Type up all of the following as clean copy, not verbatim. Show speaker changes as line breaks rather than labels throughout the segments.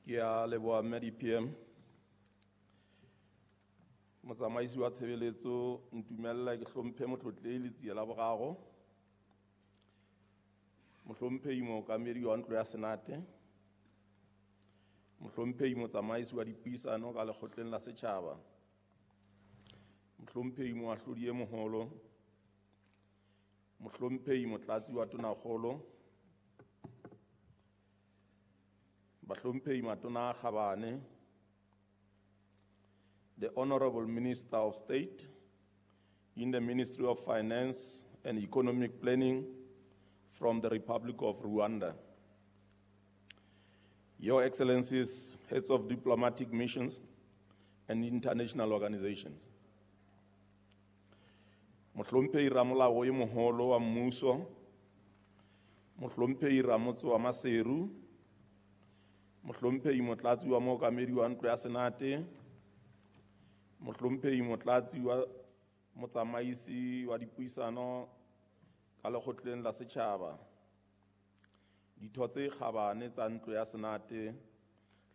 Ke a leboha mme DPM. Motsamaisi wa tshebeletso, ntumella ke hlomphe motlotlehi Letsie la Boraro. Mohlomphehi mookamedi wa ntlo ya Senate. Mohlomphehi motsamaisi wa dipuisano ka lekgotleng la setjhaba. Mohlomphehi moahlodi e moholo. Mohlomphehi motlatsi wa tonakgolo. Bahlomphehi matona a kgabane. The Honorable Minister of State in the Ministry of Finance and Economic Planning from the Republic of Rwanda. Your Excellencies, heads of diplomatic missions and international organizations. Mohlomphehi Ramolao e moholo wa mmuso, Mohlomphehi Ramotse wa Maseru, Mohlomphehi Motlatsi wa Mookamedi wa Ntlo ya Senate, Mohlomphehi Motlatsi wa Motsamaisi wa Dipuisano ka Lekgotleng la Setjhaba, ditho tse kgabane tsa Ntlo ya Senate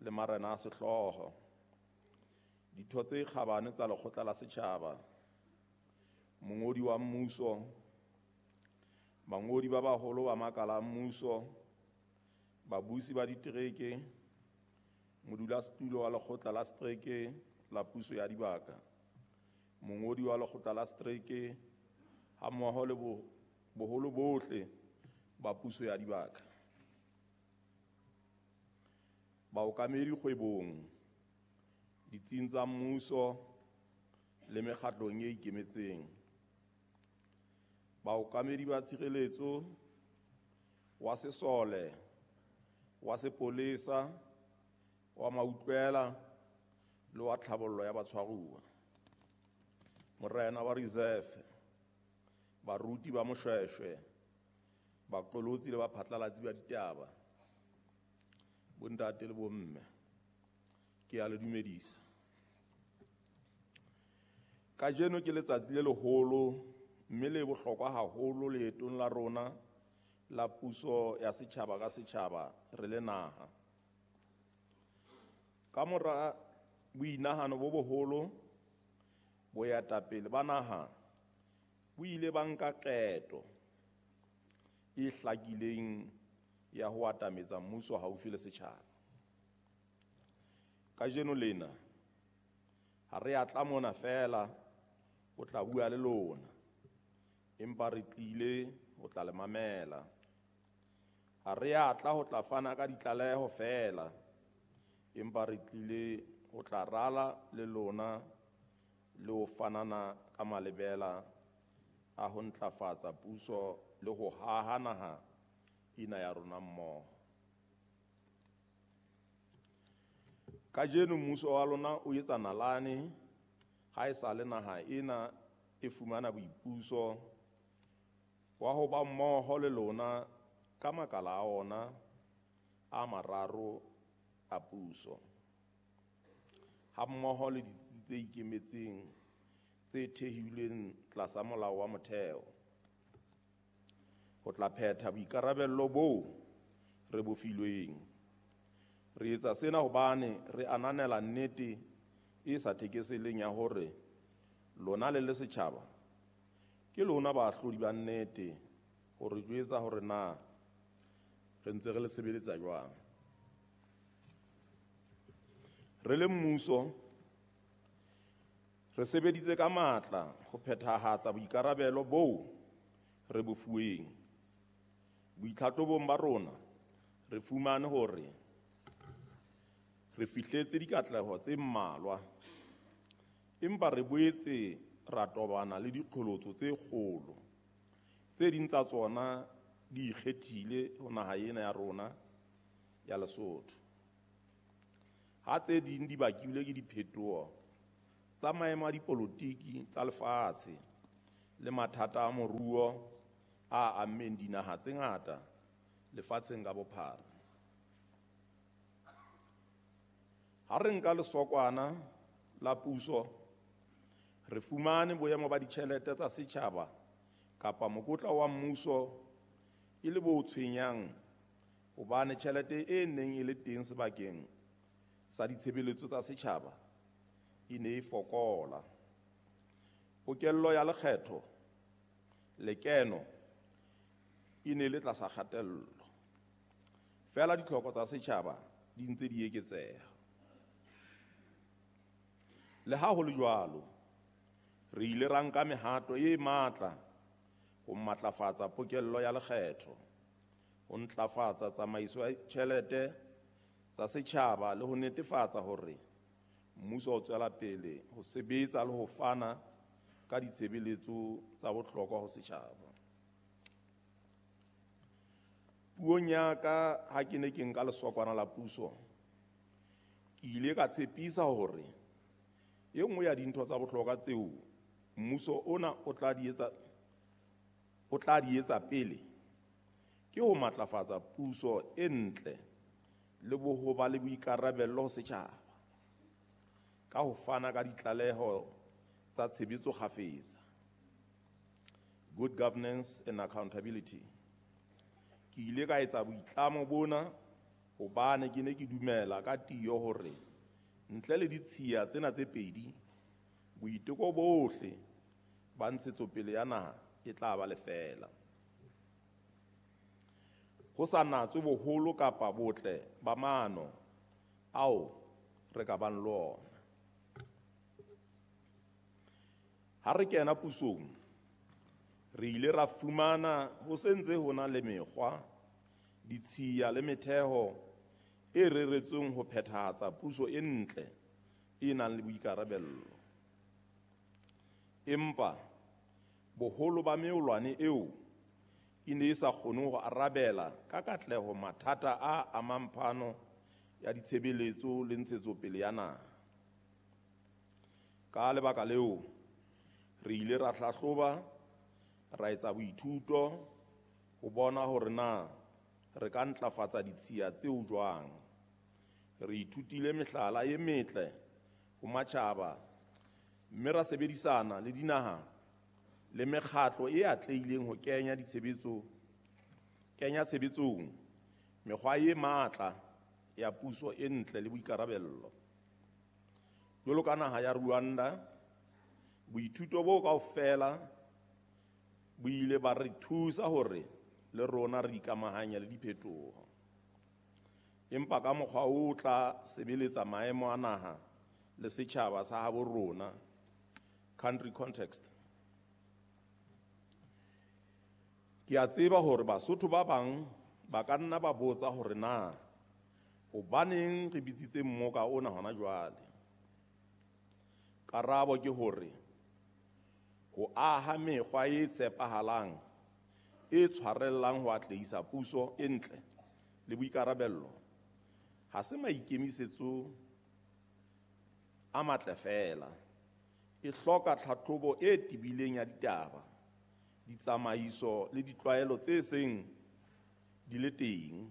le marena a sehlooho, ditho tse kgabane tsa Lekgotla la Setjhaba, mongodi wa mmuso, bangodi ba baholo ba makala a mmuso, babusi ba ditereke, modulasetulo wa Lekgotla la Setereke la Puso ya Dibaka, mongodi wa Lekgotla la Setereke hammoho le boholo bohle ba puso ya dibaka, baokamedi kgwebong, ditsing tsa mmuso le mekgatlong e ikemetseng, baokamedi ba tshireletso, wa sesole, wa sepolesa, wa mautlwela le wa tlhabollo ya batshwaruwa, morena wa reserve, baruti ba moshweshwe, baqolotsi le baphatlalatsi ba ditaba, bontate le bomme, ke a le dumedisa. Kajeno ke letsatsi le leholo mme le bohlokwa haholo leetong la rona la puso ya setjhaba ka setjhaba re le naha. Ka mora boinahano bo boholo, boetapele ba naha bo ile ba nka qeto e hlakileng ya ho atametsa mmuso haufi le setjhaba. Kajeno lena ha re a tla mona feela ho tla bua le lona, empa re tlile ho tla le mamela. Ha re a tla ho tla fana ka ditlaleho feela, empa re tlile ho tla rala le lona le ho fanana ka malebela a ho ntlafatsa puso le ho haha naha ena ya rona mmoho. Kajeno mmuso wa lona o etsa nalane ha e sa le naha ena e fumana boipuso wa ho ba mmoho le lona ka makala a ona a mararo a puso, hammoho le ditsi tse ikemetseng tse thehilweng tlasa molao wa motheo, ho tla phetha boikarabello boo re bo filweng. Re etsa sena hobane re ananela nnete e sa thekeseleng ya hore lona le le setjhaba ke lona baahlodi ba nnete ho re jwetsa hore na re ntse re le sebeletsa jwang. Re le mmuso re sebeditse ka matla ho phethahatsa boikarabelo boo re bo fuweng. Boitlhatlobong ba rona re fumane hore re fihletse dikatleho tse mmalwa, empa re boetse ra tobana le diqholotso tse kgolo. Tse ding tsa tsona di ikgethile ho naha ena ya rona ya Lesotho, ha tse ding di bakilwe ke diphetoho tsa maemo a dipolotiki tsa lefatshe le mathata a moruo a ammeng dinaha tse ngata lefatsheng ka bophara. Ha re nka lesokwana la puso, re fumane boemo ba ditjhelete tsa setjhaba kapa mokotla wa mmuso e le bo tshwenyang hobane tjhelete e neng e le teng sebakeng sa ditshebeletso tsa setjhaba e ne e fokola. Pokello ya lekgetho lekeno e ne le tlasa kgatello. Feela ditlhoko tsa setjhaba di ntse di eketseha. Le ha ho le jwalo, re ile ra nka mehato e matla ho matlafatsa pokello ya lekgetho, ho ntlafatsa tsamaiso ya ditjhelete tsa setjhaba le ho netefatsa hore mmuso o tswela pele ho sebetsa le ho fana ka ditshebeletso tsa bohlokwa ho setjhaba. Puong ya ka ha ke ne ke nka lesokwana la puso, ke ile ka tshepisa hore e nngwe ya dintho tsa bohlokwa tseo mmuso ona o tla di etsa pele ke ho matlafatsa puso e ntle le ho ba le boikarabelo ho setjhaba ka ho fana ka ditlaleho tsa tshebetso kgafetsa, good governance and accountability. Ke ile ka etsa boitlamo bona hobane ke ne ke dumela ka tiyo hore ntle le ditshiya tsena tse pedi, boiteko bohle ba ntshetsopele ya naha e tla ba lefeela. Ho sa natswe boholo kapa botle ba maano ao re ka bang le ona. Ha re kena pusong, re ile ra fumana ho se ntse ho na le mekgwa, ditshiya le metheo e reretsweng ho phethahatsa puso e ntle e nang le boikarabello. Empa boholo ba meolwane eo e ne e sa kgone ho arabela ka katleho mathata a amang phano ya ditshebeletso le ntshetsopele ya naha. Ka lebaka leo, re ile ra hlahloba, ra etsa boithuto ho bona hore na re ka ntlafatsa ditshiya tseo jwang. Re ithutile mehlala e metle ho matjhaba mme ra sebedisana le dinaha le mekgatlo e atlehileng ho kenya tshebetsong mekgwa e matla ya puso e ntle le boikarabello. Jwalo ka naha ya Rwanda, boithuto bo kaofela bo ile ba re thusa hore le rona re ikamahanye le diphetoho, empa ka mokgwa o tla sebeletsa maemo a naha le setjhaba sa habo rona, country context. Ke a tseba hore Basotho ba bang ba ka nna ba botsa hore na hobaneng re bitsitse mmoka ona hona jwale. Karabo ke hore ho aha mekgwa e tshepahalang e tshwarellang ho atlehisa puso e ntle le boikarabello ha se maikemisetso a matle feela, e hloka tlhahlobo e tebileng ya ditaba, ditsamaiso le ditlwaelo tse seng di le teng,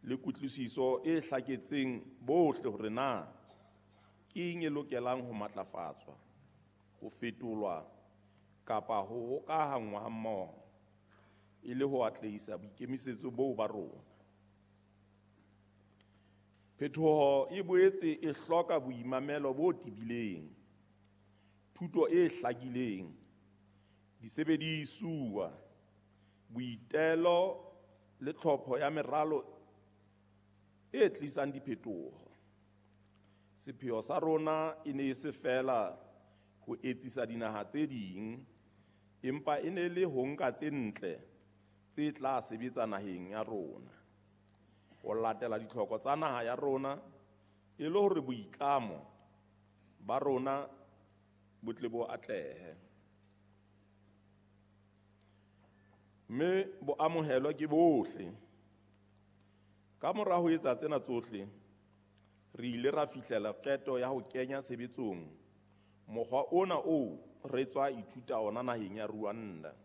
le kutlwisiso e hlaketseng bohle hore na ke eng e lokelang ho matlafatswa, ho fetolwa kapa ho hokahanngwa hammoho e le ho atlehisa boikemisetso boo ba rona. Phetoho e boetse e hloka boimamelo bo tebileng, thuto e hlakileng, disebedisuwa, boitelo le tlhopho ya meralo e tlisang diphetoho. Sepheo sa rona e ne e se feela ho etsisa dinaha tse ding, empa e ne le ho nka tse ntle tse tla sebetsa naheng ya rona, ho latela ditlhoko tsa naha ya rona e le hore boitlamo ba rona bo tle bo atlehe, mme bo amohelwe ke bohle. Ka mora ho etsa tsena tsohle, re ile ra fihlela qeto ya ho kenya tshebetsong mokgwa ona oo re tswa ithuta ona naheng ya Rwanda.